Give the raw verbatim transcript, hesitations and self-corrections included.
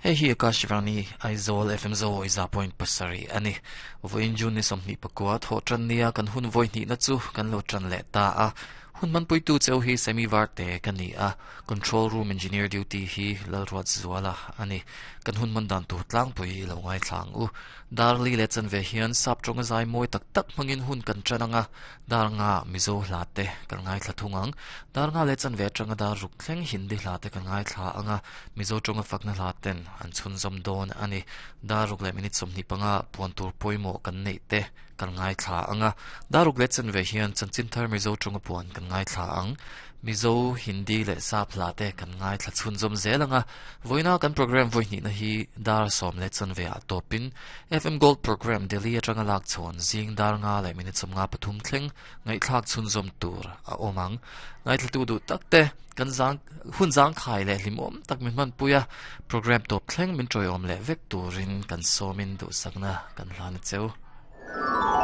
Hei hi Akashvani Aizawl F M zo iza point pasari ani voin jun ni somni pakwa tho tran nia kan hun voi ni na chu kan lo tran le ta a hun man pui tu cheu hi semi varte kan ni a control room engineer duty hi lalruat zuala ani kan hun man dan tu tlang pui lo ngai thlang u darli le chan ve hian sap tronga zai moi tak tak mangin hun kan chananga dar nga mizo hlate kan ngai thla thungang dar nga le chan ve tanga dar ruk thleng hindi hlate kan ngai thla anga mizo tronga fakna hlaten an chun zom don ani dar ruk le minute somni panga puan tur poimo kan nei te kan ngai thla anga daruk le chan ve hian chanchin thar mizo tronga puan kan ngai thla ang mizo hindi le sap hlate kan ngai thla chun zom zelanga voina kan program voi ni na hi dar som le chan ve a topin F M Gold program Delhi atanga lak chon zing dar nga le minute som nga pathum thleng ngai thlak chun zom tur a omang ngai thla tu du takte kan zang hun zang khai le limom tak min man puya program top thleng min troiom le vek turin kan somin du sakna kan hlan cheu.